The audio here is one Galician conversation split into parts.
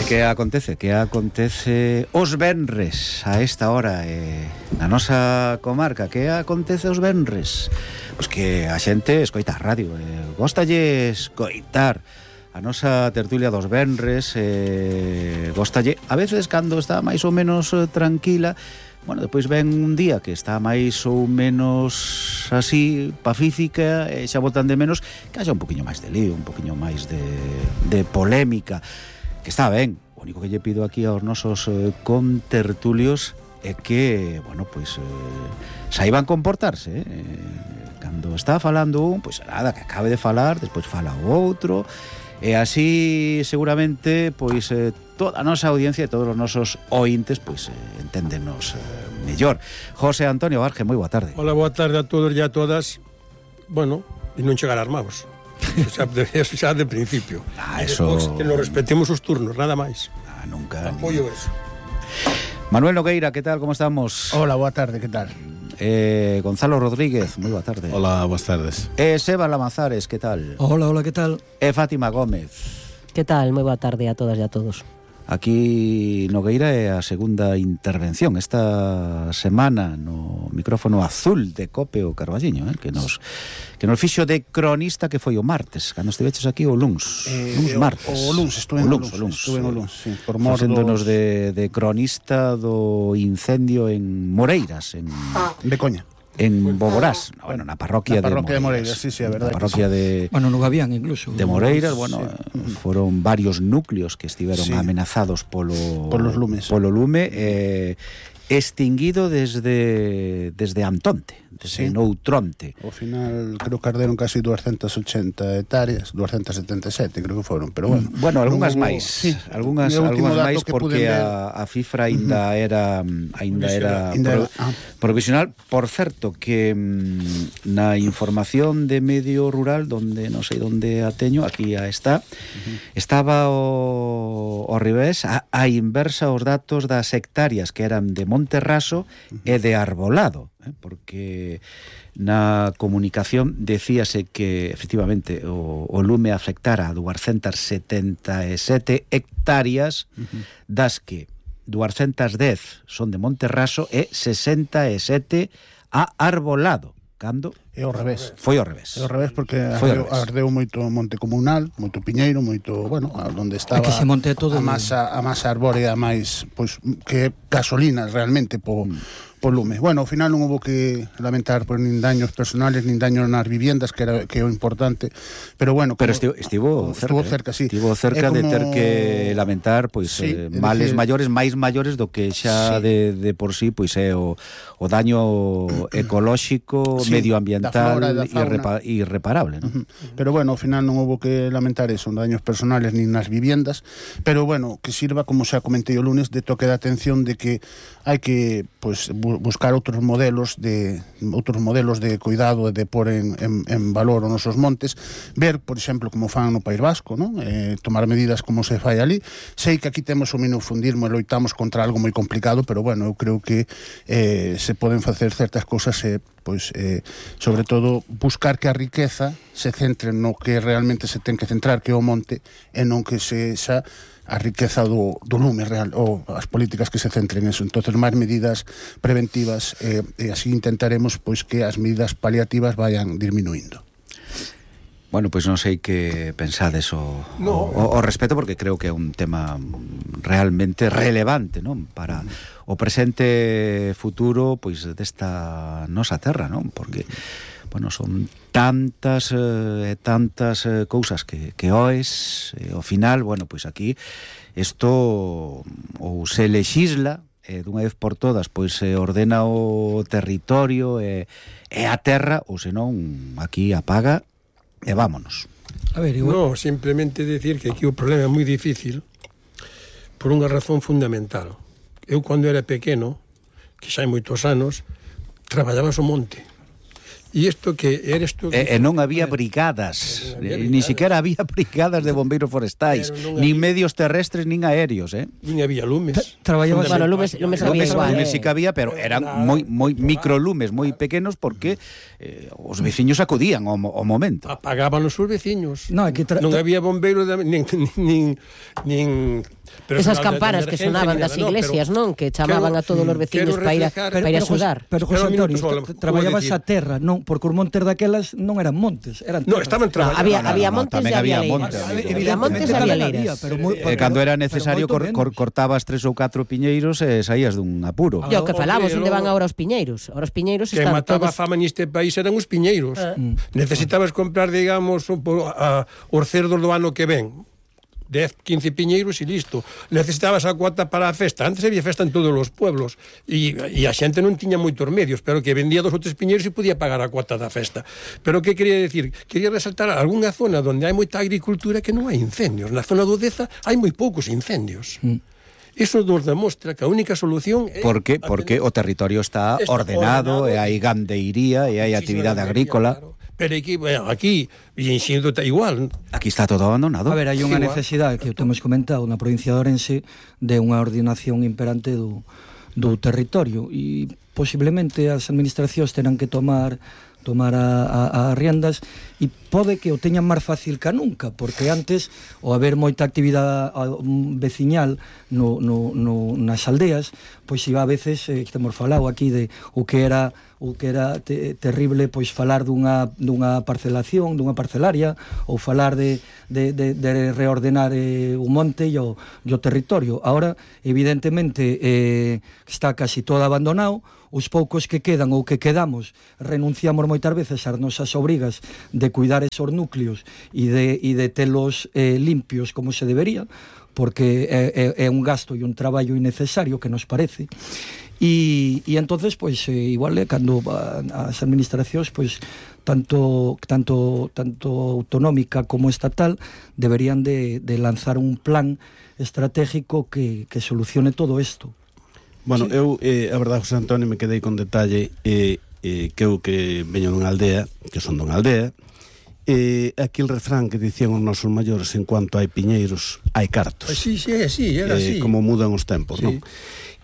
Que acontece os venres a esta hora na nosa comarca? Que acontece os venres? Pois que a xente escoita a radio, góstalle escoitar a nosa tertulia dos venres, góstalle a veces cando está máis ou menos tranquila. Bueno, depois ven un día que está máis ou menos así, pacífica, e xa botan de menos que haxa un poquinho máis de lío, un poquinho máis de polémica, que está ben. O único que lle pido aquí aos nosos contertulios é que, bueno, pois saiban comportarse, cando está falando un, pois nada, que acabe de falar, despois fala o outro, e así seguramente pois toda a nosa audiencia e todos os nosos ointes pois enténdenos mellor. José Antonio Barge, moi boa tarde. Hola, boa tarde a todos e a todas. Bueno, e non chegar armados. Eso xa de principio. Eso... Que nos respetemos os turnos, nada máis. Nunca. Apoio eso. Manuel Nogueira, que tal, como estamos? Hola, boa tarde, que tal? Gonzalo Rodríguez, moi boa tarde. Hola, boas tardes. Seba Lamazares, que tal? Hola, que tal? Fátima Gómez. Que tal? Moi boa tarde a todas e a todos. Aquí Nogueira é a segunda intervención esta semana no micrófono azul de Cope o Carballiño, que nos fixo de cronista, que foi o martes, cando estiveches aquí o luns martes. O luns, estuve en o luns, sí, por mor facéndonos de cronista do incendio en Moreiras, en Becoña. En Boborás, bueno, na parroquia de Moreiras, sí, a verdade. Na parroquia de... Bueno, no Gavián, incluso. De Moreiras, bueno, sí. Foron varios núcleos que estiveron amenazados polo lume, extinguido desde Antonte, desde Noutronte. Ao final, creo que arderon casi 280 hectáreas, 277 creo que foron, pero bueno. Bueno, algunhas máis, algunhas máis, porque a cifra aínda era provisional. Por certo, que na información de Medio Rural, donde non sei onde a teño, aquí a está, estaba ao revés, a inversa os datos das hectáreas que eran de Monterraso e de Arbolado, porque na comunicación decíase que efectivamente o lume afectara a 277 hectáreas, das que 210 son de Monterraso e 67 a Arbolado. Cando? É ao revés. Foi ao revés. É ao revés porque ardeu moito monte comunal, moito piñeiro, moito, bueno, onde estaba que se monte todo a masa arbórea máis, pois, que gasolina realmente po lume. Bueno, ao final non houve que lamentar por nin daños personales, nin daños nas viviendas, que é o importante, pero bueno... Pero estivo cerca, sí. Estivo cerca de ter que lamentar, pois, males maiores, máis maiores do que xa de por sí, pois é o daño ecolóxico, medioambiental irreparable, ¿no? Pero bueno, ao final non houve que lamentar eso, daños personales nin nas viviendas, pero bueno, que sirva, como xa comentei o lunes, de toque de atención de que hai que, pois, buscar outros modelos de cuidado e de pôr en valor os nosos montes, ver, por exemplo, como fan no País Vasco, ¿no? Tomar medidas como se fai ali. Sei que aquí temos o minufundismo e loitamos contra algo moi complicado, pero bueno, eu creo que se poden facer certas cousas pois, sobre todo, buscar que a riqueza se centre no que realmente se ten que centrar, que é o monte, e non que se xa a riqueza do lume real, ou as políticas que se centren en eso. Entonces, máis medidas preventivas, e así intentaremos pois que as medidas paliativas vayan disminuindo. Bueno, pois non sei que pensades o respeto, porque creo que é un tema realmente relevante, non? Para o presente futuro pois desta nosa terra, non? Porque bueno, son tantas cousas que oes, ao final, bueno, pois aquí isto ou se lexisla dunha vez por todas, pois se ordena o territorio e a terra, ou senón aquí apaga e vámonos. A ver, igual... No, simplemente decir que aquí o problema é moi difícil por unha razón fundamental. Eu, cando era pequeno, que xa hai moitos anos, traballaba o monte. E isto que eres tú... E non había brigadas, ni siquiera había brigadas de bombeiros forestais, nin medios terrestres, nin aéreos, nin había lumes. Traballabas... Bueno, lumes había igual. Lumes sí que había, pero eran moi microlumes, moi pequenos, porque os veciños acudían ao momento. Apagaban os veciños. Non, non había bombeiros, nin Pero Esas sinal de campanas que emergencia sonaban ni das nada, no, iglesias, non? Que chamaban a todos os veciños para ir a axudar. Pero José Pero, Antonio, minuto solo, traballabas vou a terra, non, porque os montes daquelas non eran montes, eran No, terra. estaban traballando. Había montes tamén e había había monte, leiras. amigo. Había montes e había leiras. Cando era necesario cortabas 3 ou 4 piñeiros e saías dun apuro. E o que falamos, Pero- onde van agora os piñeiros? Ahora os piñeiros Que están mataba a todos... fama neste país eran os piñeiros. Necesitabas comprar, digamos, os cerdos do ano que ven. 10, 15 piñeiros e listo. Necesitabas a cuota para a festa. Antes había festa en todos os pueblos e a xente non tiña moitos medios, pero que vendía 2 ou 3 piñeiros e podía pagar a cuota da festa. Pero que quería decir? Quería resaltar algunha zona onde hai moita agricultura que non hai incendios. Na zona do Deza hai moi poucos incendios. Iso nos demostra que a única solución é... Porque o territorio está ordenado, e hai gandeiría e hai actividade agrícola. Claro. Pero aquí e en Xindo está igual. Aquí está todo abandonado. A ver, hai unha Igual. necesidade que o temos comentado na provincia de Ourense de unha ordenación imperante do territorio e posiblemente as administracións terán que tomar a riendas e pode que o teñan máis fácil que nunca, porque antes o haber moita actividade veciñal nas aldeas, pois iba a veces, temos falado aquí de o que era terrible, pois falar dunha parcelación, dunha parcelaria, ou falar de reordenar o monte e o territorio. Ahora, evidentemente, está casi todo abandonado. Os poucos que quedan ou que quedamos renunciamos moitas veces ás nosas obrigas de cuidar esos núcleos e de telos limpios como se debería, porque é un gasto e un traballo innecesario que nos parece. E entonces, pois, igual cando as administracións, pois, tanto autonómica como estatal, deberían de lanzar un plan estratégico que solucione todo isto. Bueno, eu, a verdade, José Antonio, me quedei con detalle que eu que veño dunha aldea, que son dunha aldea, aquí el refrán que dicían os nosos maiores, en cuanto hai piñeiros, hai cartos. Sí, era así. Como mudan os tempos, sí. Non?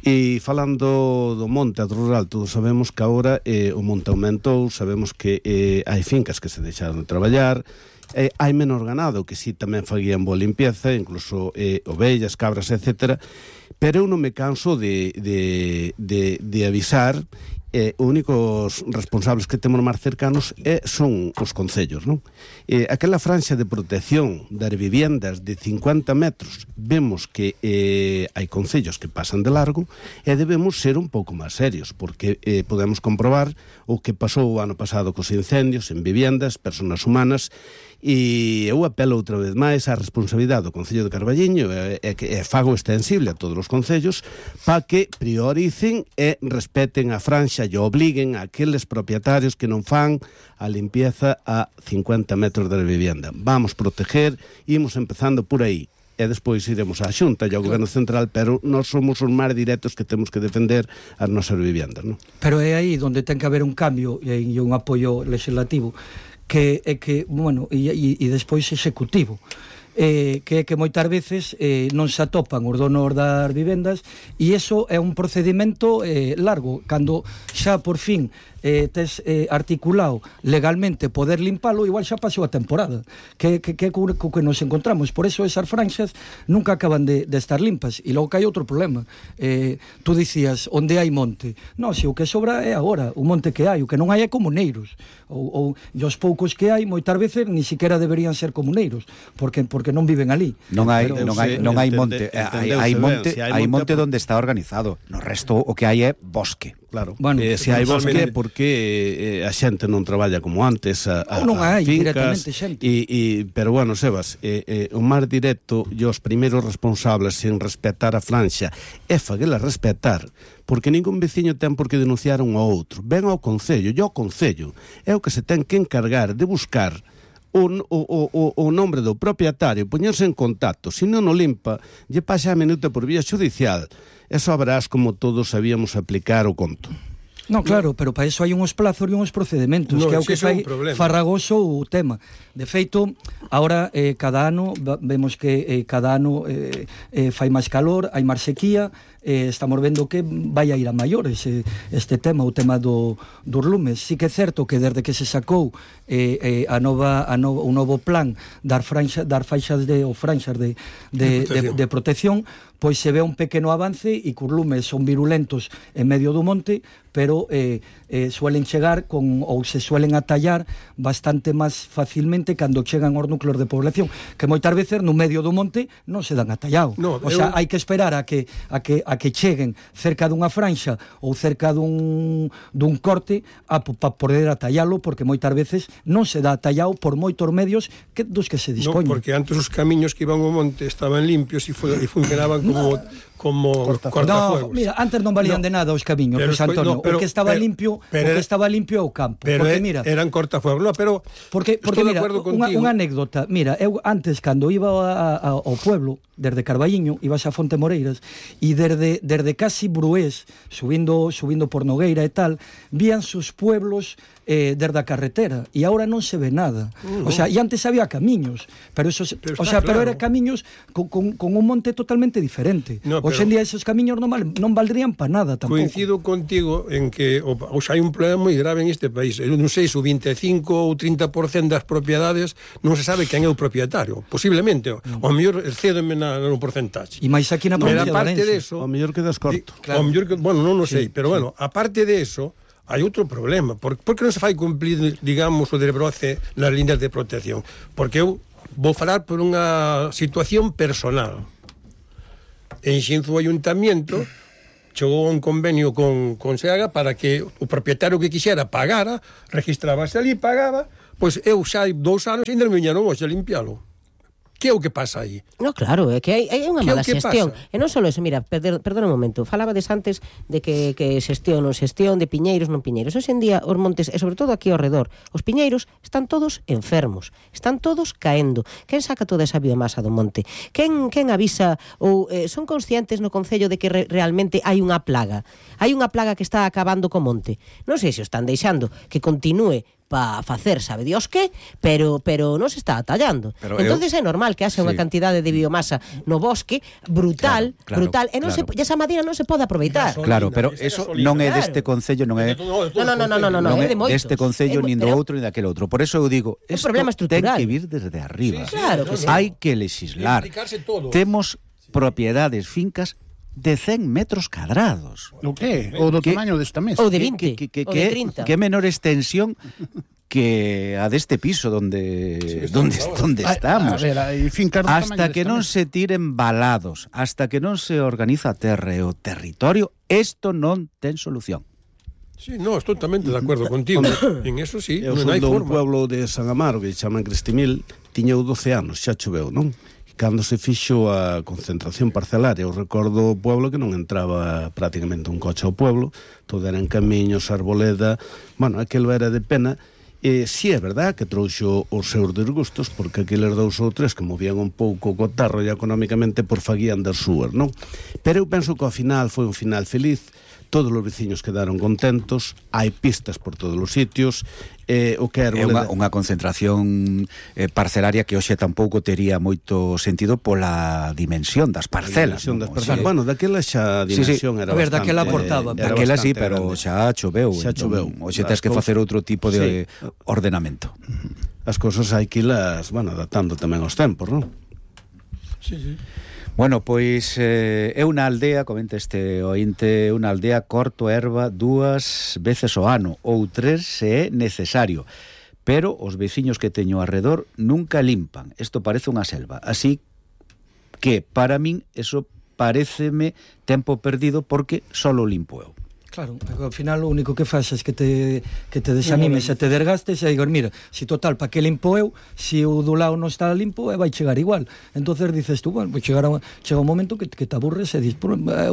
E falando do monte, do rural, todos sabemos que agora o monte aumentou, sabemos que hai fincas que se deixaron de traballar, hai menos ganado, que si tamén faguían boa limpieza, incluso ovellas, cabras, etc. Pero eu non me canso de avisar. Os únicos responsables que temos máis cercanos son os concellos, non? Aquela franxa de protección das viviendas de 50 metros, vemos que hai concellos que pasan de largo e debemos ser un pouco máis serios, porque podemos comprobar o que pasou o ano pasado cos incendios en viviendas, personas humanas, e eu apelo outra vez máis á responsabilidade do Concello de Carballiño e fago extensible a todos os concellos para que prioricen e respeten a franxa e obliguen a aqueles propietarios que non fan a limpieza a 50 metros da vivienda. Vamos proteger, imos empezando por aí e despois iremos á Xunta e ao Goberno Central, pero nós somos os máis directos que temos que defender as nosas viviendas, non? Pero é aí onde ten que haber un cambio e un apoio legislativo que bueno, e despois executivo, que moitas veces non se atopan os donos das vivendas e iso é un procedimento largo, cando xa por fin tes articulado legalmente poder limpalo, igual xa pasou a temporada que nos encontramos. Por eso esas franxas nunca acaban de estar limpas. E logo que hai outro problema, tú dicías, onde hai monte? Non, se o que sobra é agora o monte que hai, o que non hai é comuneiros, ou os poucos que hai moitas veces ni siquiera deberían ser comuneiros, porque non viven ali. Non hai monte, hai monte onde está organizado. No resto o que hai é bosque. Claro, bueno, se hai bosque porque a xente non traballa como antes non hai fincas, directamente xente. Pero bueno, Sebas, o máis directo e os primeiros responsables en respetar a franxa é faguela respetar, porque ningún veciño ten por que denunciar un ao outro. Ven ao Concello, e ao Concello é o que se ten que encargar de buscar o nombre do propietario, poñerse en contacto. Se non o limpa, lle pasa a minuta por vía judicial. E sabrás como todos sabíamos aplicar o conto. No, claro, pero para eso hai uns plazos e uns procedementos, que é o que fai farragoso o tema. De feito, agora cada ano vemos que cada ano fai máis calor, hai máis sequía, estamos vendo que vai a ir a maiores este tema, o tema dos lumes. Sí que é certo que desde que se sacou o novo plan dar faixas de protección, pois se ve un pequeno avance e que os lumes son virulentos en medio do monte, pero suelen chegar ou se suelen atallar bastante máis facilmente cando chegan aos núcleos de población, que moitas veces no medio do monte non se dan atallado. O sea, hai que esperar a que cheguen cerca dunha franxa ou cerca dun corte para poder atallalo, porque moitas veces non se dá atallado por moitos medios dos que se dispoñen. No, porque antes os camiños que iban ao monte estaban limpios e funcionaban como cortafuegos. No, mira, antes non valían de nada os camiños, José Antonio. O que estaba limpio é o campo. Pero mira, eran cortafuegos. No, pero porque mira, unha anécdota. Mira, eu antes, cando iba ao pueblo, desde Carballiño, ibas a Fonte Moreiras, e desde casi Brués, subindo por Nogueira e tal, vían sus pueblos desde a carretera, e agora non se ve nada. O sea, e antes había camiños, pero eran camiños con un monte totalmente diferente. Hoxe en día esos camiños non valdrían para nada tampouco. Coincido contigo en que hoxe hai un problema moi grave en este país. Eu non sei se o 25 ou 30% das propiedades non se sabe quen é o propietario. Posiblemente, ao mellor excédeme no porcentaxe. E máis aquí na provincia de Orense. Ao mellor quedas corto. Ao mellor que, bueno, non o sei, pero bueno, aparte de eso, hai outro problema. Por que non se fai cumplir, digamos, o de Broce nas líneas de protección? Porque eu vou falar por unha situación personal. En Xinzo o Ayuntamiento chegou un convenio con Seaga para que o propietario que quixera pagara, registrábase ali, pagaba, pois eu xa hai 2 anos e ainda me viñeron hoxe a limpialo. Que é o que pasa aí? No, claro, é que hai unha mala xestión. E non só eso, mira, perdona un momento, falabades antes de que xestión de piñeiros, non piñeiros. Hoxe en día os montes, e sobre todo aquí ao redor, os piñeiros están todos enfermos, están todos caendo. Quen saca toda esa biomasa do monte? Quen avisa ou son conscientes no concello de que realmente hai unha plaga? Hai unha plaga que está acabando co monte. Non sei se o están deixando que continúe para facer, sabe Dios que, pero non se está atallando. Entonces é normal que haxa unha cantidade de biomasa no bosque brutal, e non se, esa madeira non se pode aproveitar. Claro, pero eso non é deste concello, non é é de moitos. Deste concello, nin do outro, nin daquele outro. Por eso eu digo, isto ten que vir desde arriba. Hai que legislar. Temos propiedades, fincas de 100 metros cuadrados. O que? O do tamaño desta mesa. Ou de 20, ou de 30. Que menor extensión que a deste piso donde estamos. A ver, hasta que non se tiren balados, hasta que non se organiza a terra e o territorio, isto non ten solución. Sí, no, estou totalmente de acordo contigo. En eso sí, non hai forma. Eu son do pueblo de San Amaro, que chaman Cristimil, tiña 12 anos, xa choveu, non? Cando se fixo a concentración parcelaria, eu recordo o pueblo que non entraba prácticamente un coche ao pueblo, todo eran camiños, arboleda, bueno, aquilo era de pena. Si é verdad que trouxo os seus desgustos, porque aqueles 2 ou 3 que movían un pouco co tarro e económicamente por faguían das súas, non? Pero eu penso que ao final foi un final feliz, todos os veciños quedaron contentos, hai pistas por todos os sitios, o que é unha concentración parcelaria que hoxe tampouco tería moito sentido pola dimensión das parcelas. Bueno, daquela xa a dimensión era bastante... daquela aportaba. Daquela sí, pero xa choveu. Hoxe tens que facer outro tipo de ordenamento. As cousas hai que irlas, adaptando tamén aos tempos, non? Sí. Bueno, pois é unha aldea, comenta este ointe, unha aldea corto erva 2 veces ao ano ou 3 se é necesario, pero os veciños que teño arredor nunca limpan. Isto parece unha selva, así que para min eso paréceme tempo perdido porque solo limpo eu. Claro, ao final o único que faz é que te desanimes e te desgastes e digas, mira, si total, pa que limpo eu, si o do lado non está limpo, vai chegar igual. Entonces dices tú, bueno, chega un momento que te aburres e dices,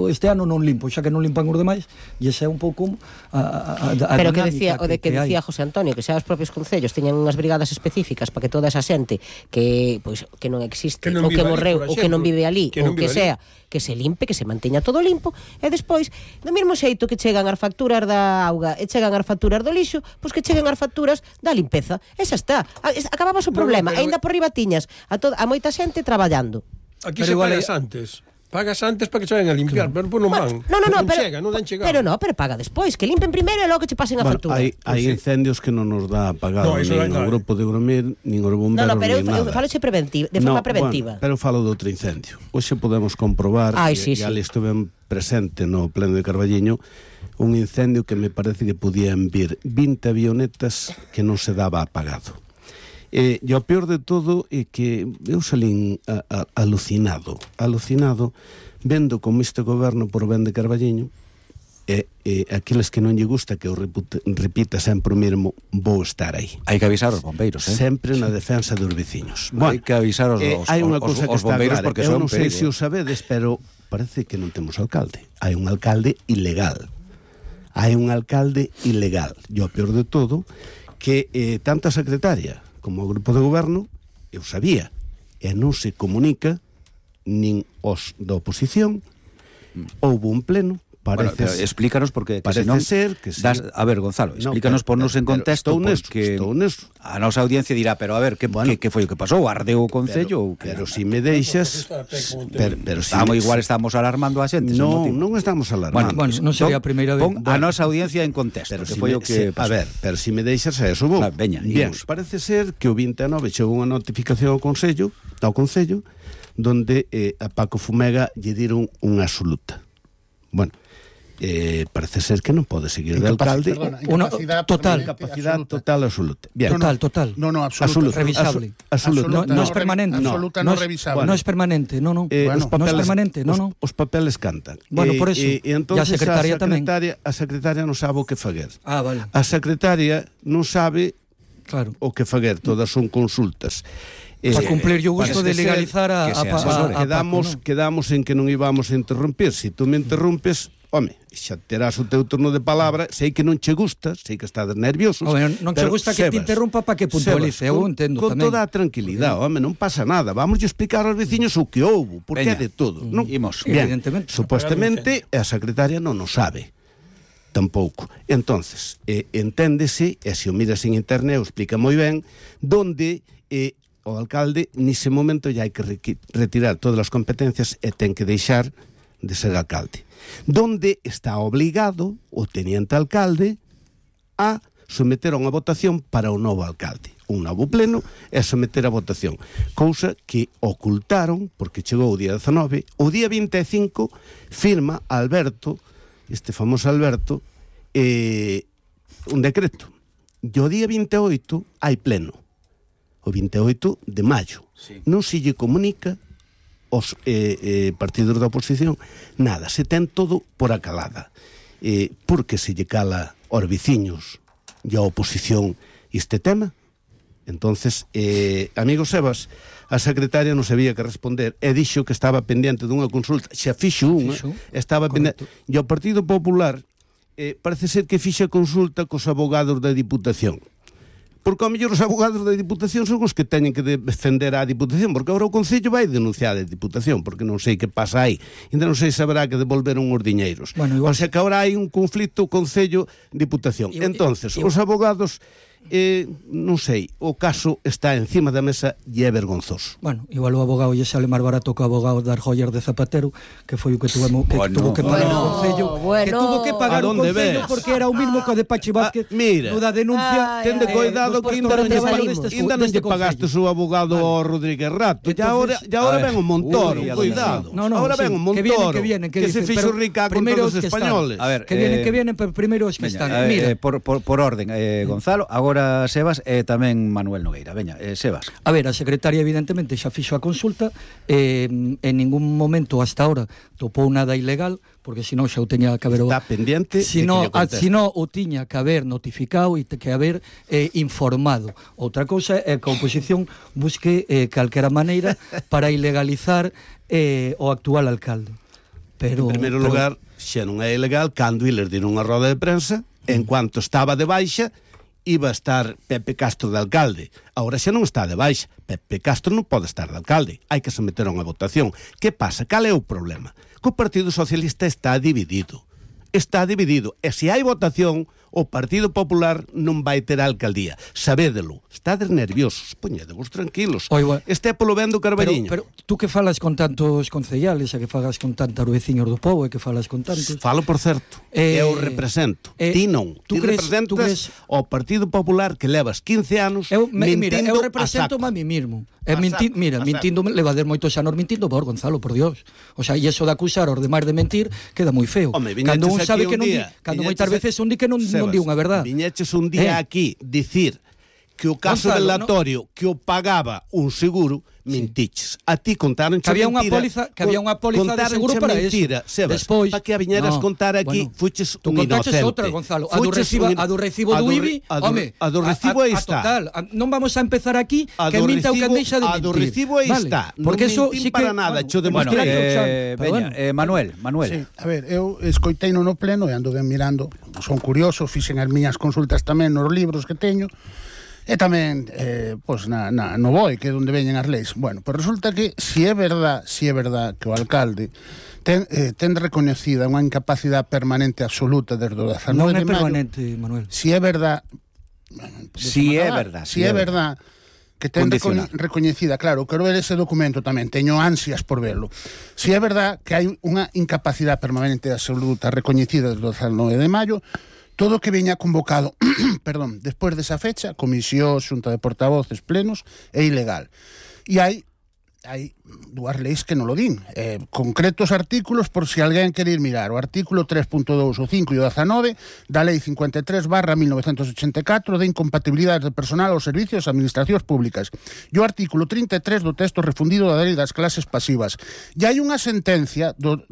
este ano non limpo, xa que non limpan os demais, e ese é un pouco pero que decía José Antonio, que xa os propios concellos teñan unhas brigadas específicas para que toda esa xente que non existe, ou que morreu, ou que non vive ali, ou que sea, que se limpe, que se manteña todo limpo, e despois, do mesmo xeito que chega chegan as facturas da auga e chegan as facturas do lixo, pois que cheguen as facturas da limpeza. Esa está. Acababas o problema. Ainda por riba tiñas a moita xente traballando. Aquí se pagas antes. Pagas antes para que se vayan a limpiar, pero non van. Non dan chegado. Pero paga despois, que limpen primeiro e logo que che pasen a factura. Hai incendios que non nos dá pagado nin o grupo de Gromir, nin os bomberos, pero nin nada. eu falo de forma preventiva. Pero falo de outro incendio. Hoxe podemos comprobar, e ali estuve presente no pleno de Carballiño, un incendio que me parece que podían vir 20 avionetas que non se daba apagado. E o peor de todo é que eu salín alucinado vendo como este goberno por ben de Carballiño e aqueles que non lle gusta que eu repita sempre o mesmo, vou estar aí. Hai que avisar os bombeiros, sempre na defensa dos veciños. Hai que avisar os bombeiros porque son un perigo. Eu non sei se o sabedes, pero parece que non temos alcalde. Hai un alcalde ilegal. E o peor de todo que tanto a secretaria como o grupo de goberno, eu sabía, e non se comunica nin os da oposición. Houve un pleno, explícanos porque parece ser que a ver, Gonzalo, explícanos, ponnos en contexto, porque a nosa audiencia dirá, pero a ver, que foi o que pasou? Ardeu o Concello? Pero si me deixas, igual estamos alarmando a xente. Non estamos alarmando. Bueno, non sería a primeira vez. Pon a nosa audiencia en contexto, que foi o que pasou. A ver, pero si me deixas a eso vou. Veña, parece ser que o 29 chegou unha notificación ao Concello, donde a Paco Fumega lle diron unha absoluta. Bueno, parece ser que non pode seguir de alcalde. Capacidade total absoluta. Total. No, absoluta. Revisable. No es permanente. Absoluta no revisable. No es permanente, no es permanente, no. Os papeles cantan. Bueno, por eso. E entonces a secretaria tamén. A secretaria non sabe o que faguer. Vale. A secretaria non sabe o que faguer. Todas son consultas. Para cumplir o gusto de legalizar a quedamos en que non íbamos a interrumpir. Se tú me interrumpes, home, xa terás o teu turno de palabra. Sei que non che gusta, sei que estás nervioso. Non che gusta que te interrumpa para que puntualice. Eu entendo tamén. Con toda a tranquilidade, home, non pasa nada. Vamos a explicar aos veciños o que houve, porque é de todo. Evidentemente. Supuestamente a secretaria non o sabe. Tampouco. Entonces, enténdese, e se o miras en internet, o explica moi ben, donde o alcalde nese momento ya hai que retirar todas as competencias e ten que deixar de ser alcalde. Donde está obligado o teniente alcalde a someter a unha votación para o novo alcalde. Un novo pleno e someter a votación. Cousa que ocultaron, porque chegou o día 19, o día 25 firma Alberto, este famoso Alberto, un decreto. E o día 28 hai pleno. O 28 de maio. Non se lle comunica os partidos da oposición nada, se ten todo por acalada. Porque se lle cala aos veciños e a oposición este tema? Entonces, amigo Sebas, a secretaria non sabía que responder e dixo que estaba pendiente dunha consulta, xa fixo unha, estaba pendiente, e o Partido Popular parece ser que fixa consulta cos abogados da Diputación. Porque ao mellor os abogados da Diputación son os que teñen que defender a Diputación, porque agora o Concello vai denunciar a Diputación, porque non sei que pasa aí. Ainda non sei se haberá que devolver uns diñeiros. O sea que agora hai un conflito Concello-Diputación. Entonces, os abogados, non sei, o caso está encima da mesa e é vergonzoso. Bueno, igual o abogado lle sale máis barato que o abogado das joyas de Zapatero, que foi o que tuvo que pagar o Concello, que tuvo que pagar o Concello porque era o mismo que o de Pachi Vázquez no da denuncia. Tende cuidado que ainda non lle pagaste o abogado ao Rodríguez Rato, e agora ven o Montoro, cuidado. Agora ven o Montoro, que se fixo rica con todos os españoles. Que vienen, pero primeiro os que están. Por orden, Gonzalo, agora Sebas e tamén Manuel Nogueira. Veña, Sebas. A ver, a secretaria evidentemente xa fixo a consulta, en ningún momento hasta ahora topou nada ilegal, porque senón xa o teña que haber... Está pendiente senón o tiña que haber notificado e que haber informado. Outra cousa é que a oposición busque calquera maneira para ilegalizar o actual alcalde. En primeiro lugar, xa non é ilegal cando iles dieron unha roda de prensa, en cuanto estaba de baixa, iba a estar Pepe Castro de alcalde. Agora xa non está de baixa. Pepe Castro non pode estar de alcalde. Hai que someter a unha votación. Que pasa? Cal é o problema? Que o Partido Socialista está dividido. está dividido. E se hai votación, o Partido Popular non vai ter a alcaldía. Sabédelo. Estades nerviosos. Poñedevos tranquilos. Este polo ben do Carballiño. Pero tú que falas con tantos concellales, e que falas con tantos veciños do pobo, e que falas con tantos... Falo, por certo. Eu represento. Ti non. Ti representas o Partido Popular que levas 15 anos mentindo eu represento a mí mismo. Mintindo, levader moitos anos mintindo, por Gonzalo, por Dios. O sea, e eso de acusar aos demais de mentir queda moi feo. Cando un sabe que non di, cando moitas veces un di que non di unha verdad. Viñeches un día aquí dicir que o caso velatorio que o pagaba un seguro, mentiches. A ti contaron que había unha póliza, de seguro para mentira, eso. Despois, para que a viñeras contar aquí, fuches un inocente. Outra, Gonzalo, a do recibo do IBI, home, a do recibo aí está. Total, non vamos a empezar aquí que minta o que deixa de mentir. A do recibo aí está. Porque eso sí que para nada, cho demostrar. Manuel. Sí, a ver, eu escoiteino no pleno e ando ben mirando, son curioso, fixen as miñas consultas tamén nos libros que teño. E tamén, no BOE, que é onde veñen as leis. Bueno, pues resulta que, si é verdad que o alcalde ten recoñecida unha incapacidade permanente absoluta desde o 19 de maio... Non é permanente, Manuel. Si é verdad... Si é verdad que ten recoñecida, claro, quero ver ese documento tamén, teño ansias por verlo. Si é verdad que hai unha incapacidade permanente absoluta recoñecida desde o 19 de maio, todo o que veña convocado, despois desa fecha, comisión, xunta de portavoces, plenos, é ilegal. E hai dúas leis que non lo din. Concretos artículos, por si alguén quere ir mirar. O artículo 3.2, o 5 e o 19 da Lei 53/1984 de incompatibilidades de personal aos servicios e administracións públicas. E o artículo 33 do texto refundido da Lei das clases pasivas. E hai unha sentencia do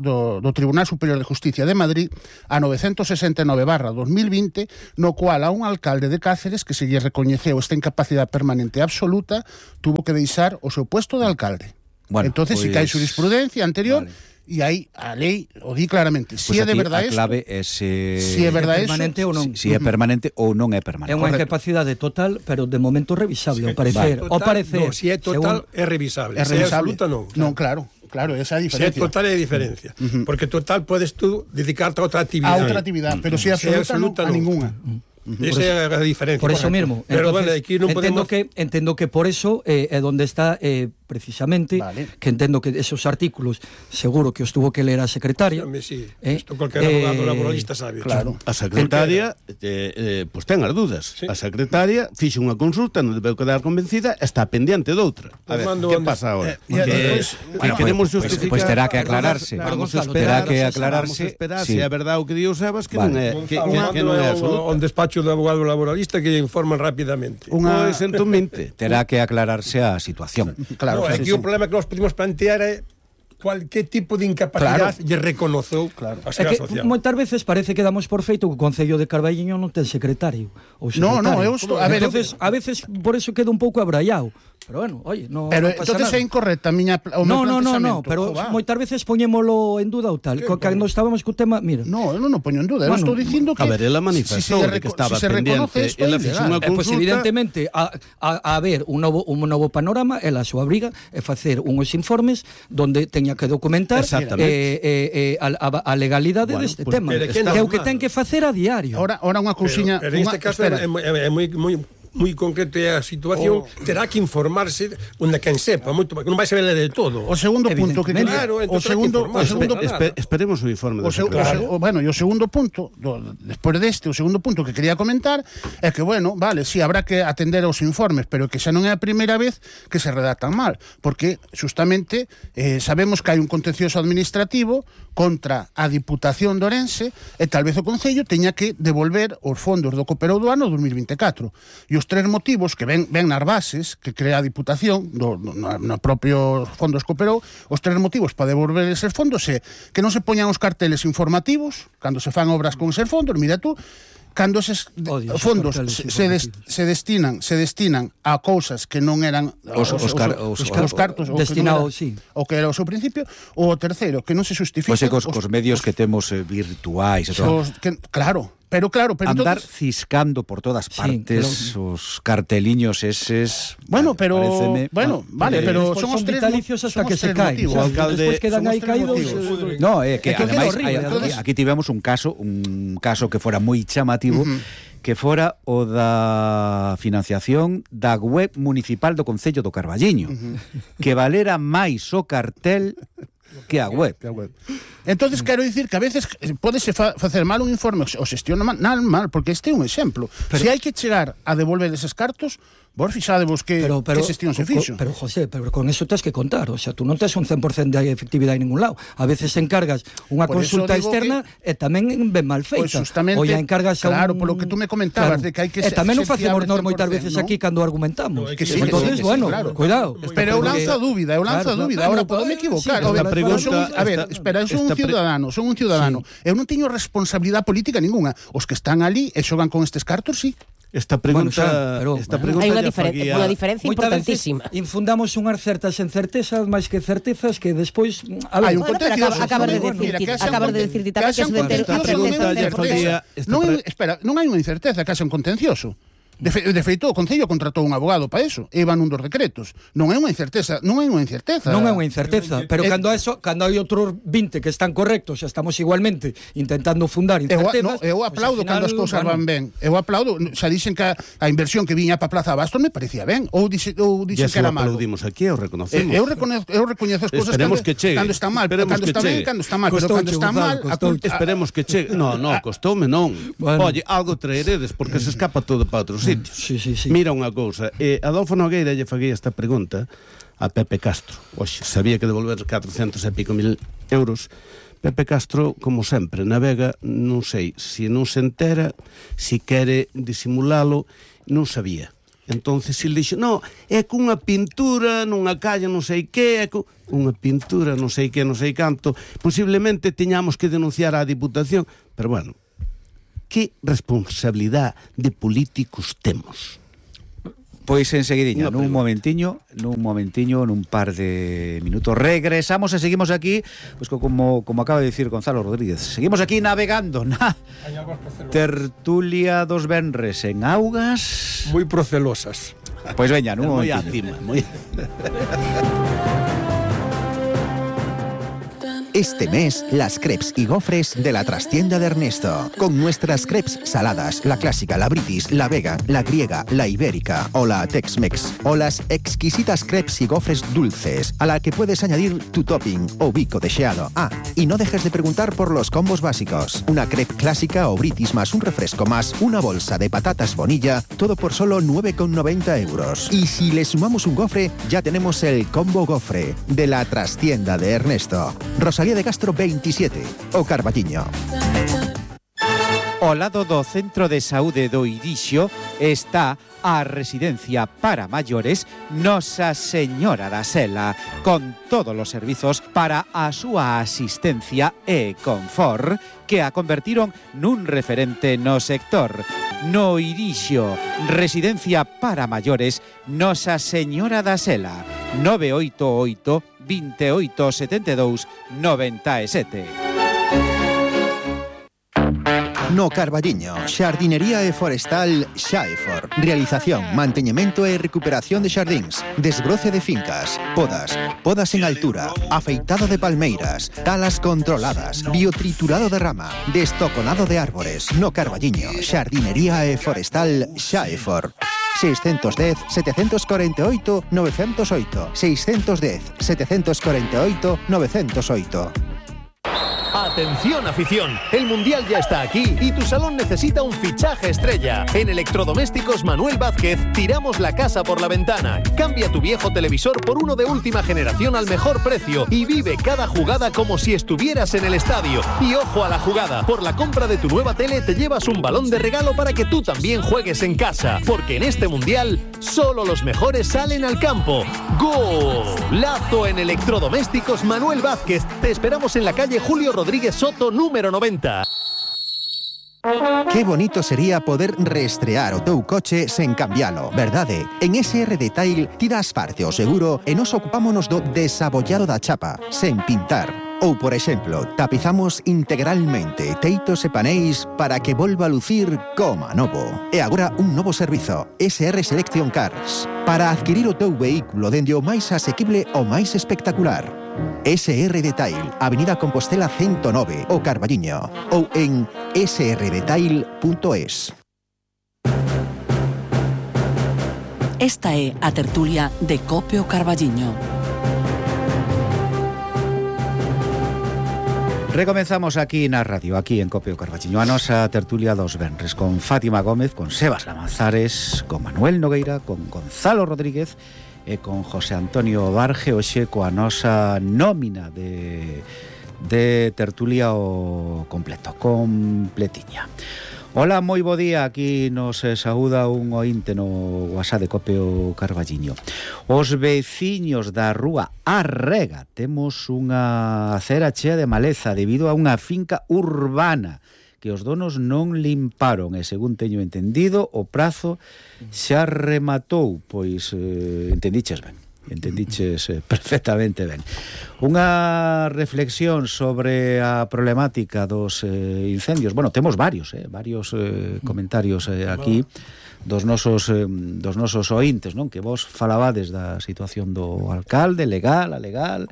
Tribunal Superior de Justicia de Madrid a 969/2020 no cual a un alcalde de Cáceres que se lle recoñeceu esta incapacidade permanente absoluta tuvo que deixar o seu puesto de alcalde. Bueno, entonces si que hai jurisprudencia anterior e aí a lei o di claramente. Si é de verdade isto, a clave é si é verdade permanente ou non. Si é permanente ou non é permanente. É unha incapacidade total, pero de momento revisable, ao parecer. Si é total, é revisable. É revisable. Si é absoluta, non. Non, claro, esa é a diferencia. Si é total, é a diferencia. Porque total podes tú dedicarte a outra actividade. A outra actividade, pero si é absoluta, non, a ninguna. Esa é a diferencia. Por eso mesmo. Pero bueno, aquí non podemos... Entendo que por eso é onde está precisamente, que entendo que esos artículos seguro que os tuvo que ler a secretaria. Sí, isto cualquier abogado laboralista sabe. Claro. A secretaria pues ten as dudas. Sí. A secretaria fixe unha consulta, non debeu quedar convencida, está pendiente doutra. A ver, que pasa agora? Queremos justificar. Pois terá que aclararse. Terá que aclararse. Se é verdade o que di o Sebas, que non é absoluto. Un despacho de abogado laboralista que informan rapidamente. Pois entonmente terá que aclararse a situación. Claro. No, aquí o problema que nos podemos plantear é cualquier tipo de incapacidade lle reconozou a Seguridade Social. Moitas veces parece que damos por feito que o Concello de Carballiño non ten secretario ou secretario. Entonces, a veces por eso queda un pouco abraiado. Pero bueno, oye, no pasa entonces nada. É incorrecta o meu No, planteamento. pero moitas veces poñémolo en duda ou tal. Cando estábamos co tema, mira. No, eu non o poño en duda, eu estou dicindo que... A ver, ela manifestou que estaba pendiente, ela fixo unha consulta... Pois evidentemente, a haber un novo panorama, ela a súa obriga é facer unhos informes donde teña que documentar a legalidade deste tema, que é o que ten que facer a diario. Ahora unha cousiña... Pero neste caso é moi concreto a situación, terá que informarse onde quen sepa, moito, non vai saber de todo. O segundo punto que esperemos o informe. Bueno, e o segundo punto, despois deste, o segundo punto que quería comentar é que, bueno, vale, si habrá que atender aos informes, pero que xa non é a primeira vez que se redactan mal, porque justamente sabemos que hai un contencioso administrativo contra a Diputación de Ourense e tal vez o Concello teña que devolver os fondos do Cooperou do ano 2024. E os tres motivos que ven nas bases que crea a Diputación no propio fondos Cooperou, os tres motivos para devolver eses fondos é que non se poñan os carteles informativos cando se fan obras con eses fondos, mira tú, cando eses fondos se destinan a cousas que non eran os cartos destinados, o que era o seu principio, o terceiro, que non se justifica cos medios que temos virtuais, claro, Pero claro, pero andar entonces... ciscando por todas partes os carteliños eses. Bueno, pero paréceme, vale, pero son os tres vitalicios hasta que se caen. motivos. O sea, alcalde, despois quedan aí caídos. No, que que ademais horrible, entonces... aquí tivemos un caso que fora moi chamativo, que fora o da financiación da web municipal do Concello do Carballiño, que valera máis o cartel que a web. Entonces quero dicir que a veces pódese facer mal un informe o xestiona mal, porque este é un exemplo. Se hai que chegar a devolver eses cartos, vos fixadevos que xestión se fixo. Pero, José, con eso tens que contar. O sea, tú non tes un 100% de efectividade en ningún lado. A veces encargas unha consulta externa e tamén ben mal feita. Pues justamente, ou ya encargas a claro, polo que tú me comentabas, de que hai que ser tamén non ser facemos fiable nós moitas 100%, veces ¿no? aquí cando argumentamos. Que sí, entonces, bueno, claro. cuidado. Pero eu lanzo a dúbida, Ahora podome equivocar. A ver, espera, eu son un ciudadano. Eu non teño responsabilidade política ninguna. Os que están ali e xogan con estes cartos, sí. Esta pregunta, hai unha diferencia importantísima. Infundamos unhas certas encertezas máis que certezas que despois hai un contencioso. Acabas de decir tamén que eso de ter non hai unha incerteza, que haxa un contencioso. De feito, o Concello contratou un abogado para eso, e van un dos decretos. Non é unha incerteza. Pero cando hai outros 20 que están correctos, estamos igualmente intentando fundar incertezas. Eu aplaudo cando as cousas van ben. Eu aplaudo, xa dixen que a inversión que viña para Plaza Abastos me parecía ben, ou dixen que era malo. Aplaudimos aquí, o reconocemos. Eu recoñezo as cousas cando están mal, cando está ben, cando está mal, pero cando está mal, esperemos que chegue. No, costoume non. Oye, algo traeredes porque se escapa todo para outros sitios. Sí. Mira unha cousa, Adolfo Nogueira lle faguei esta pregunta a Pepe Castro. Oxe, sabía que devolver 400 e pico mil euros. Pepe Castro, como sempre, navega, non sei se non se entera, se quere disimulalo, non sabía. Entonces ele dixo, no, é cunha pintura nunha calle non sei que, unha pintura non sei que, non sei canto, posiblemente teñamos que denunciar á Diputación, pero bueno, que responsabilidade de políticos temos? Pois enseguidiña, nun momentiño, nun par de minutos regresamos e seguimos aquí, pois como acaba de dicir Gonzalo Rodríguez. Seguimos aquí navegando na tertulia dos venres en augas moi procelosas. Pois veña, nun moi momentiño. Este mes, las crepes y gofres de la trastienda de Ernesto. Con nuestras crepes saladas, la clásica, la british, la vega, la griega, la ibérica o la tex-mex. O las exquisitas crepes y gofres dulces, a la que puedes añadir tu topping o bico deseado. Ah, y no dejes de preguntar por los combos básicos. Una crepe clásica o british más un refresco más una bolsa de patatas bonilla, todo por solo 9,90 euros. Y si le sumamos un gofre, ya tenemos el combo gofre de la trastienda de Ernesto. Rosalía de Castro 27, o Carballiño. Ao lado do Centro de Saúde do Irixo está a residencia para maiores Nosa Señora da Sela, con todos os servizos para a súa asistencia e confort, que a convertiron nun referente no sector. No Irixo, residencia para maiores Nosa Señora da Sela, 988 28 72 97. No Carballiño, xardinería e forestal Xaefor. Realización, manteñemento e recuperación de xardíns, desbroce de fincas, podas en altura, afeitado de palmeiras, talas controladas, biotriturado de rama, destoconado de árbores. No Carballiño, xardinería e forestal Xaefor. 610 748 908 610 748 908. Atención afición, el Mundial ya está aquí y tu salón necesita un fichaje estrella. En Electrodomésticos Manuel Vázquez tiramos la casa por la ventana. Cambia tu viejo televisor por uno de última generación al mejor precio y vive cada jugada como si estuvieras en el estadio. Y ojo a la jugada, por la compra de tu nueva tele te llevas un balón de regalo para que tú también juegues en casa. Porque en este Mundial solo los mejores salen al campo. ¡Golazo en Electrodomésticos Manuel Vázquez! Te esperamos en la calle Julio Rodríguez Soto, número 90. Qué bonito sería poder reestrear o teu coche sen cambialo, verdade? En SR Detail tiras parte o seguro e nos ocupámonos do desabollado da chapa, sen pintar. Ou, por exemplo, tapizamos integralmente teitos e paneis para que volva a lucir como novo. E agora un novo servizo, SR Selection Cars, para adquirir o teu vehículo dende o máis asequible ao máis espectacular. SR Detail, Avenida Compostela 109, o Carballiño, ou en srdetail.es. Esta é a tertulia de Cope o Carballiño. Recomenzamos aquí na radio, aquí en Cope o Carballiño, a nosa tertulia dos venres, con Fátima Gómez, con Sebas Lamanzares, con Manuel Nogueira, con Gonzalo Rodríguez e con José Antonio Barge, hoxe coa nosa nómina de tertulia o completo, completiña. Hola, moi bo día, aquí nos saúda un ointe no WhatsApp de Cope o Carballiño. Os veciños da rúa Arrega temos unha acera chea de maleza debido a unha finca urbana que os donos non limparon e, según teño entendido, o prazo xa rematou, pois entendiches perfectamente ben. Unha reflexión sobre a problemática dos incendios. Bueno, temos varios comentarios aquí dos nosos ointes, non? Que vos falabades da situación do alcalde, legal, alegal,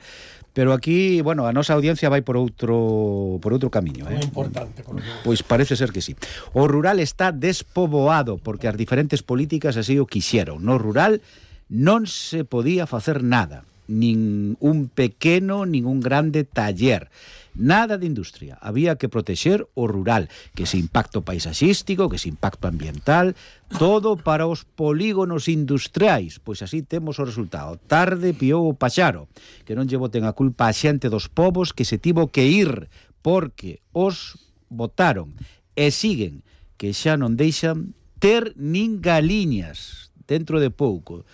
pero aquí, bueno, a nosa audiencia vai por outro camiño, Moi importante, por lo Pois parece ser que sí. O rural está despoboado porque as diferentes políticas así o quixeron. No rural non se podía facer nada, nin un pequeno, nin un grande taller, nada de industria. Había que protexer o rural, que ese impacto paisaxístico, que ese impacto ambiental, todo para os polígonos industriais. Pois así temos o resultado. Tarde piou o paxaro, que non lle boten a culpa a xente dos povos que se tivo que ir porque os botaron e siguen, que xa non deixan ter nin galiñas dentro de pouco.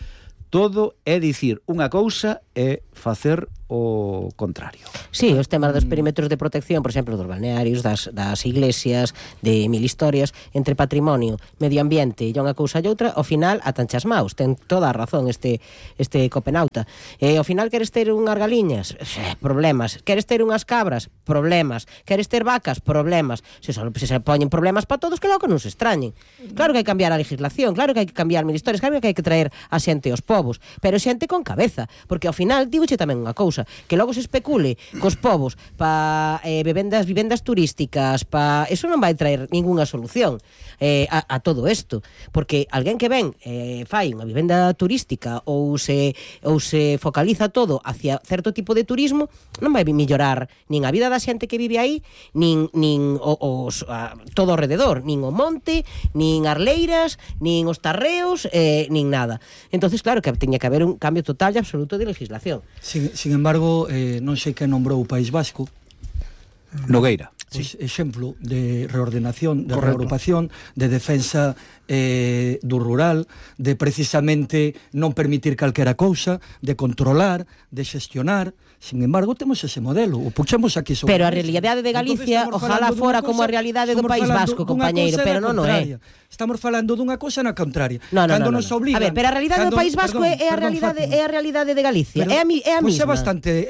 Todo é dicir unha cousa e facer o contrario. Sí, os temas dos perímetros de protección, por exemplo, dos balnearios, das iglesias, de mil historias, entre patrimonio, medio ambiente e unha cousa e outra, ao final atanchas maus. Ten toda a razón este copenauta. Ao final queres ter unhas galiñas? Problemas. Queres ter unhas cabras? Problemas. Queres ter vacas? Problemas. Se poñen problemas para todos, que logo non se extrañen. Claro que hai que cambiar a legislación, claro que hai que cambiar mil historias, claro que hai que traer a xente aos povos, pero xente con cabeza, porque ao final digoche tamén unha cousa, que logo se especule cos povos para vivendas turísticas, eso non vai traer ningunha solución a todo isto, porque alguén que ven fai unha vivenda turística ou se focaliza todo hacia certo tipo de turismo, non vai mellorar nin a vida da xente que vive aí, nin todo ao rededor, nin o monte, nin as leiras, nin os tarreos, nin nada. Entonces, claro que teña que haber un cambio total e absoluto de legislación. Sin embargo, non sei que nombrou o País Vasco. Nogueira. Pois, exemplo de reordenación, de reagrupación, de defensa do rural, de precisamente non permitir calquera cousa, de controlar, de xestionar. Sin embargo, temos ese modelo, o puxemos aquí sobre. Pero a realidade de Galicia, ojalá fora como a realidade do País Vasco, compañeiro, pero non é. Estamos falando dunha cousa na contraria. No. Nos obligan, a ver, pero a realidade do País Vasco é a realidade de Galicia. É a mesma. Pois é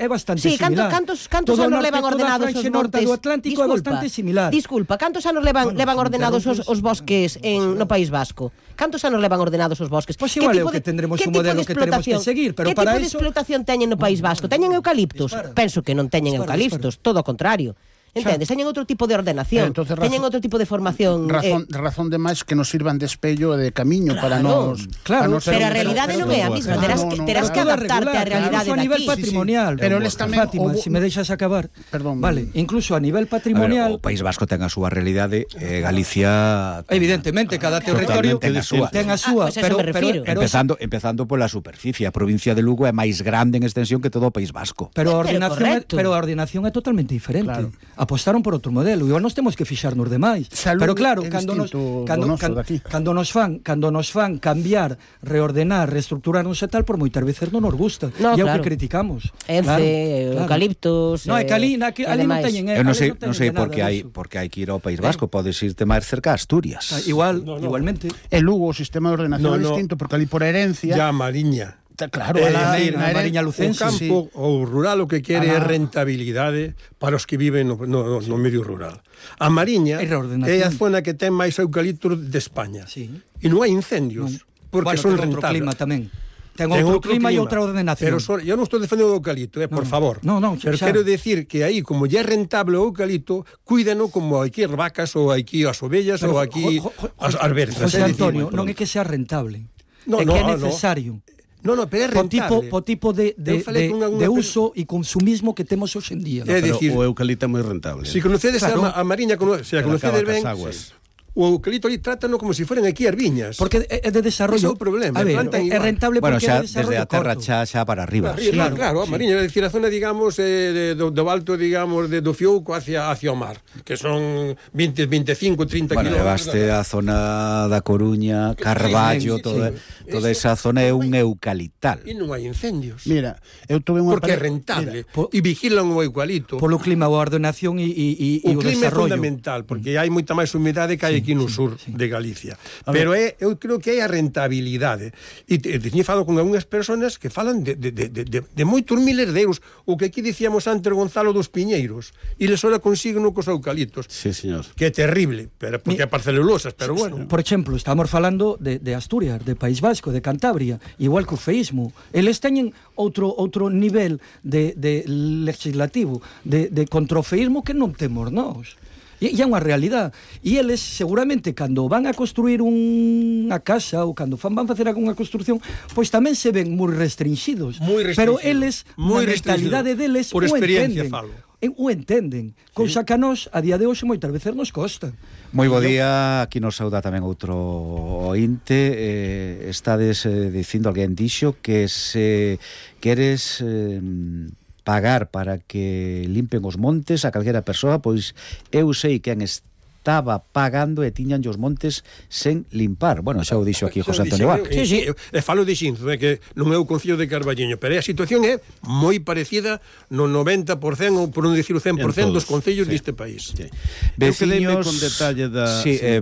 bastante Sí, similar. cantos anos levan ordenados os montes do Atlántico? É bastante similar. Disculpa, cantos anos levan ordenados os bosques no País Vasco? Cantos anos levan ordenados os bosques? Pois igual é o que tendremos un modelo que teremos que seguir, pero para iso... Que tipo de explotación teñen no País Vasco? Teñen eucaliptos? Penso que non teñen eucaliptos, todo o contrario. Entendes? Teñen outro tipo de ordenación, teñen outro tipo de formación. Razón de máis que nos sirvan de espello e de camiño para nos... Claro, pero a realidade non é a mesma, terás que adaptarte á realidade daqui. A nivel patrimonial, pero eles tamén... Fátima, se me deixas acabar. Perdón. Vale, incluso a nivel patrimonial... O País Vasco ten a súa realidade, Galicia... Evidentemente, cada territorio ten a súa, pero empezando pola superficie. A provincia de Lugo é máis grande en extensión que todo o País Vasco. Pero a ordenación é totalmente diferente. Apostaron por outro modelo e nós temos que fixarnos demais. Pero claro, cando nos fan cambiar, reordenar, reestructurarnos e tal, por moitas veces non nos gusta. E é o que criticamos. Eucaliptos... Non, é que ali non teñen... Eu non sei por que hai que ir ao País Vasco. Podes irte máis cerca a Asturias. Igualmente. E Lugo o sistema de ordenación é distinto, porque ali por herencia... Ya, Mariña. Claro, a Mariña Lucense. O campo ou rural o que quere é rentabilidade para os que viven no medio rural. A Mariña é a zona que ten máis eucaliptos de España. E non hai incendios, porque son rentables. Outro clima tamén. Ten outro clima e outra ordenación. Pero eu non estou defendendo o eucalipto, por favor. Pero quero decir que aí, como ya é rentable o eucalipto, cuídano como aquí as vacas, ou aquí as ovellas, ou aquí as verzas. José Antonio, non é que sea rentable, é que é necesario. Pero é rentable. Po tipo de uso e consumismo que temos hoxe en día. Pero o eucalipto é moi rentable. Se conocedes a Mariña, se a conocedes ben, o eucalipto ali trátano como se fueran aquí as viñas. Porque é de desarrollo. Ese é o problema. A ver, é rentable porque é de desde a terra xa para arriba. Claro, a Mariña, é dicir, a zona, digamos, do alto, digamos, do Fiouco hacia o mar, que son 20, 25, 30 kilómetros. Bueno, levaste a zona da Coruña, Carballo, toda esa zona é un eucaliptal. E non hai incendios. Mira, eu tuve unha... Porque é rentable. E vigilan o eucalipto. Polo clima, a ordenación e o desarrollo. O clima é fundamental, porque hai moita máis humidade que hai aquí no sur de Galicia. Pero eu creo que hai a rentabilidade. E teño falado con algunhas persoas que falan de moitos miles de euros, o que aquí dicíamos antes, Gonzalo, dos piñeiros, e les ora consiguen cos eucaliptos. Sí, señor. Que é terrible, porque é parcelulosas, pero bueno. Por exemplo, estamos falando de Asturias, de País Vasco, de Cantabria, igual que o feísmo. Eles teñen outro nivel de legislativo, de contra o feísmo que non temos nós. E é unha realidade. E eles, seguramente, cando van a construir unha casa ou cando van facer algunha construcción, pois tamén se ven moi restringidos. Pero eles, na mentalidade deles, por experiencia falo. O entenden. Cousa que a nós, a día de hoxe, moitas veces nos costa. Moi bo día, aquí nos sauda tamén outro ointe. Estades dicindo, alguén dixo que se queres pagar para que limpen os montes a calquera persoa, pois eu sei quen estaba pagando e tiñan os montes sen limpar. Bueno, xa o dixo aquí José Antonio Vázquez. Sí, falo de Xinzo, que non é o Concello de Carballiño, pero a situación é moi parecida no 90% ou por non dicir o 100% dos concellos deste país. Veciños, con detalle da...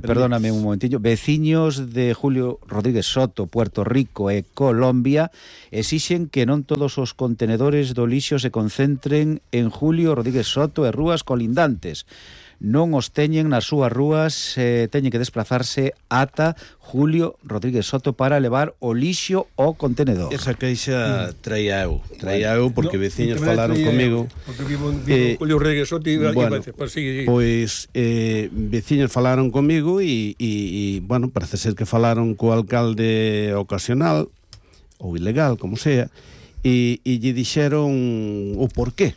perdóname un momentillo. Veciños de Julio Rodríguez Soto, Puerto Rico e Colombia exixen que non todos os contenedores do lixo se concentren en Julio Rodríguez Soto e rúas colindantes. Non os teñen nas súas rúas, teñen que desplazarse ata Julio Rodríguez Soto para levar o lixo ao contenedor. Esa queixa traía eu porque veciños falaron comigo. Porque vivo Julio Rodríguez Soto e pois veciños falaron comigo e bueno, parece ser que falaron co alcalde ocasional ou ilegal, como sea, e lle dixeron o porqué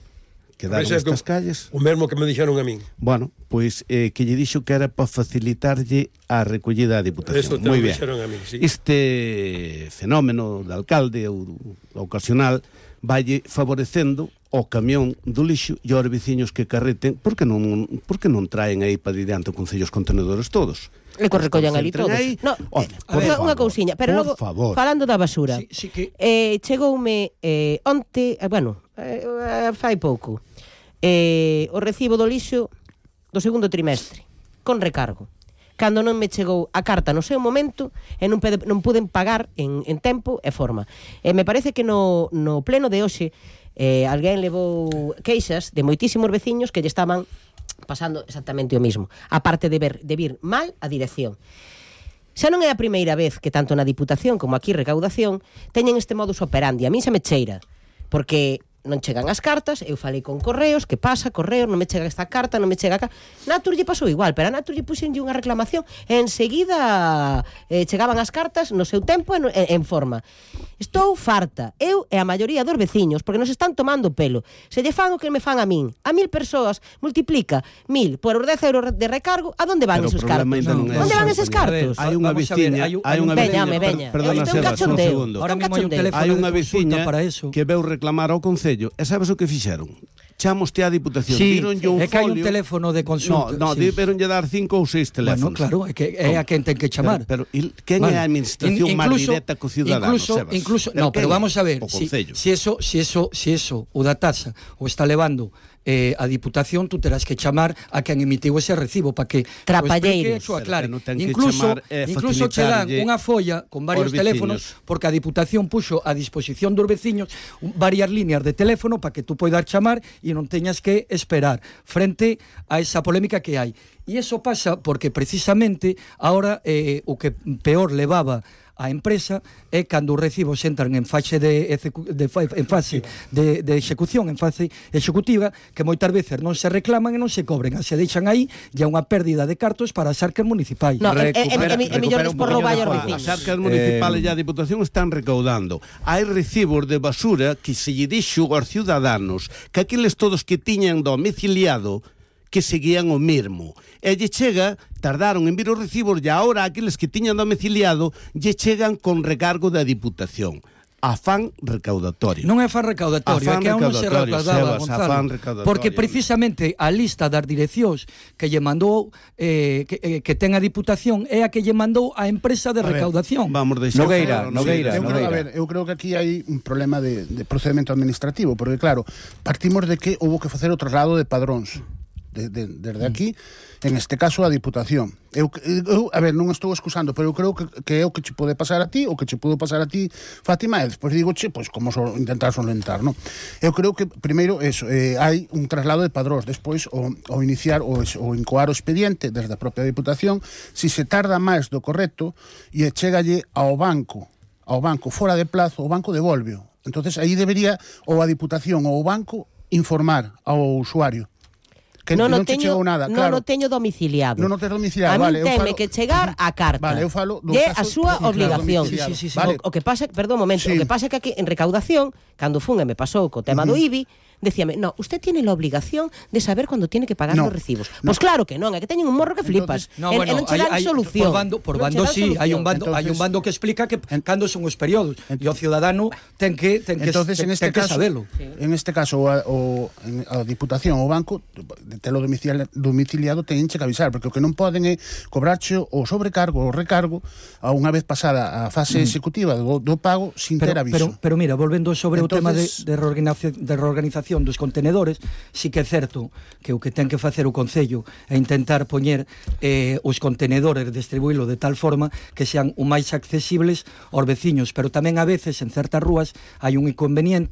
quedaron estas calles. O mesmo que me dixeron a min. Bueno, pois que lle dixo que era para facilitarlle a recollida da Diputación. Moi ben. Sí. Este fenómeno de alcalde ou ocasional valle favorecendo o camión do lixo e aos veciños que carreten, porque non traen aí para diante o Concello os contenedores todos. E que recollan ali todos. Unha cousiña, pero logo, falando da basura, chegoume onte, fai pouco, o recibo do lixo do segundo trimestre, con recargo. Cando non me chegou a carta no seu momento e non puden pagar en tempo e forma. Me parece que no pleno de hoxe alguén levou queixas de moitísimos veciños que lle estaban pasando exactamente o mismo, aparte de vir mal a dirección. Xa non é a primeira vez que tanto na Diputación como aquí recaudación teñen este modus operandi. A mí xa me cheira, porque non chegan as cartas, eu falei con Correos, que pasa, Correos, non me chega esta carta, non me chega acá. Natur lle pasou igual, pero a Natur lle puxenlle unha reclamación e enseguida chegaban as cartas no seu tempo en forma. Estou farta, eu e a maioría dos veciños, porque nos están tomando o pelo. Se lle fan o que me fan a min, a 1000 persoas, multiplica 1000 por os 10 euros de recargo, a donde van esos cartos? Onde van eses cartos? Hai unha veciña, perdona, Sebas, un segundo. Ahora mesmo hai un teléfono hai unha de veciña para eso. que veu reclamar ao Concello, e sabes o que fixeron? chamoste á Diputación, sí, díronlle un é que hai un folio. teléfono de consulta. No, sí. deberonlle dar 5 ou 6 teléfonos. Bueno, claro, é que é a quen ten que chamar. Pero quen é a administración máis directa co ciudadano, Sebas? Incluso, no, pero vamos a ver, si eso o da taxa o está levando a Diputación, tú terás que chamar a quen emitiu ese recibo para que trapalleiros, incluso che dan unha folla con varios teléfonos, porque a Diputación puxo a disposición dos veciños varias líneas de teléfono para que tú poidas chamar e non teñas que esperar frente a esa polémica que hai. E iso pasa porque precisamente ahora o que peor levaba a empresa é cando os recibos entran en fase de execución, en fase executiva, que moitas veces non se reclaman e non se cobren, se deixan aí, e unha pérdida de cartos para as arcas municipais. No, millóns por roubar aos vecinos. As arcas municipales e a Diputación están recaudando. Hai recibos de basura que se lle dixo aos ciudadanos que aqueles todos que tiñan domiciliado que seguían o mesmo. E lle chega, tardaron en vir os recibos, e agora aqueles que tiñan domiciliado lle chegan con recargo da Diputación. Afán recaudatorio. Non é afán recaudatorio, é que aún non se recaudaba, Gonzalo, porque precisamente a lista das direccións que lle mandou que ten a Diputación é a que lle mandou a empresa de recaudación. Vamos deixar Nogueira. Eu creo que aquí hai un problema de procedimento administrativo, porque claro, partimos de que houve que facer o traslado de padróns desde aquí, en este caso a Diputación. Eu non estou excusando, pero eu creo que é o que che pode pasar a ti, o que che pudo pasar a ti, Fátima, e despois digo, pois como intentar solventar, non? Eu creo que primeiro hai un traslado de padróns, despois o iniciar o incoar o expediente desde a propia Diputación, si se tarda máis do correcto e chegalle ao banco fora de plazo, o banco devolveo. Entonces aí debería ou a Diputación ou o banco informar ao usuario que non chegou nada, claro. Non o teño domiciliado. Non o teño domiciliado, a mí teme que chegar a carta. Vale, eu falo do caso a súa obligación. Sí. Vale. O que pasa, perdón un momento, o que pasa é que aquí en recaudación, cando fun e me pasou co tema do IBI, decíame, no, usted tiene la obligación de saber cuando tiene que pagar los recibos. Pues claro que non, é que teñen un morro que flipas. Non che dan solución. Por bando sí, hai un bando que explica que cando son os períodos e o ciudadano ten que sabelo. En este caso a Diputación ou o banco telo domiciliado teñen que avisar, porque o que non poden é cobrarche o sobrecargo ou recargo a unha vez pasada a fase executiva do pago sin ter aviso. Pero mira, volvendo sobre o tema de reorganización dos contenedores, sí que é certo que o que ten que facer o Concello é intentar poñer os contenedores, distribuílo de tal forma que sean o máis accesibles aos veciños, pero tamén a veces en certas rúas hai un inconveniente